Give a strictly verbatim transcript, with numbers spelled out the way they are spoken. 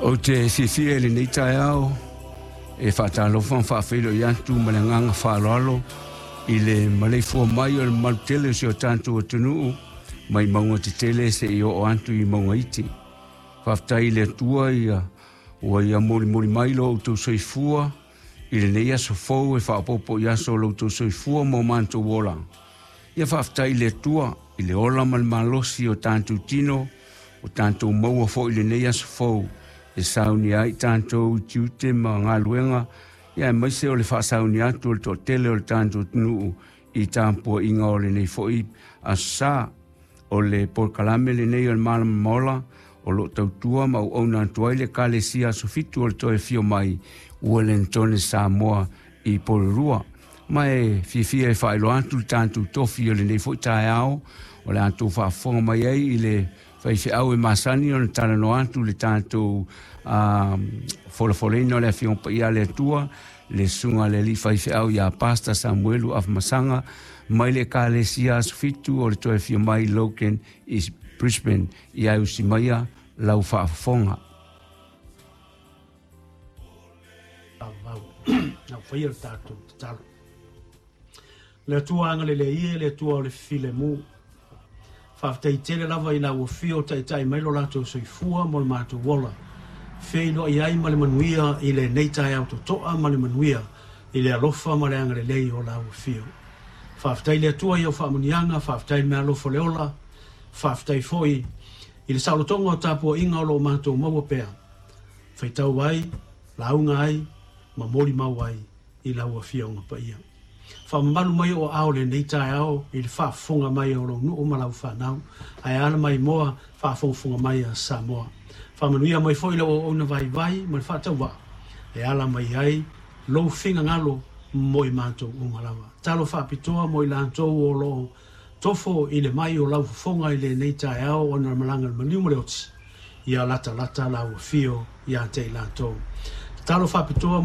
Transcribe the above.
Ou te fiafia i lenei taeao e faatalofa ma faafeiloai atu ma le agaga faaaloalo i le maleifua mai o le mamalu tele o si o tatou atunuu mai mauga tetele seia oo atu i mauga iti. Faafetai i le Atua ia ua ia molimoli mai lo outou soifua i lenei aso fou e faaopoopo i aso o lo outou soifua ma o matou ola. Ia faafetai i le Atua i le ola ma le malosi o tatou tino o tatou maua foi i lenei aso fou e saunia ai tatou i tiute ma galuega ia aemaise o le faasaunia atu o le toatele o le tatou atunuu i tapuaiga o lenei foi aso sa. O le polokalame lenei o le Malama Ola o loo tautua ma auauna atu ai le Ekalesia Aso Fitu o le Toe Afio Mai Uelintone Samoa i Porirua. Ma e fiafia e faailoa atu le tatou tofi o lenei foi taeao o le a outou faafofoga mai ai i le faifeau e masani ona talanoa atu le tatou uh, folafoleina o le Afioga Paia a le Atua, le susuga a le alii faifeau ia Pastor Samuelu Afamasaga mai le Ekalesia Aso Fitu o le Toe Afio Mai Logan i Brisbane. Ia e usi maia lau faafofoga. Vau, na faia le tatou tatalo. Le Atua agalelei e, le Atua o le filemu. Faafetai tele lava i lau afio o taitai mai lo latou soifua mo le matou ola. Feiloai ai ma le manuia i lenei taeao totoa ma le manuia i le alofa ma le agalelei o lau afio. Faafetai le Atua i au faamanuiaga, faafetai le meaalofa o le ola, faafetai foi i le saolotoga o tapuaiga o lo o matou maua pea. Faitau ai, lauga ai, ma molimau ai i lau afioga paia. Faamamalu mai o aao lenei taeao i le faafofoga mai o lou nuu ma lau fanau, ae ala mai moa faafogafoga mai a Samoa. Faamanuia mai foi lau auauna vaivai ma le faatauvaa e ala mai ai lou finagalo mo i matou uma lava. Talo faapitoa mo i latou o loo tofo i le mai o lau fofoga i lenei taeao ona le malaga le maliu ma le oti, ia latalata lau afio ia te i latou. Talo faapitoa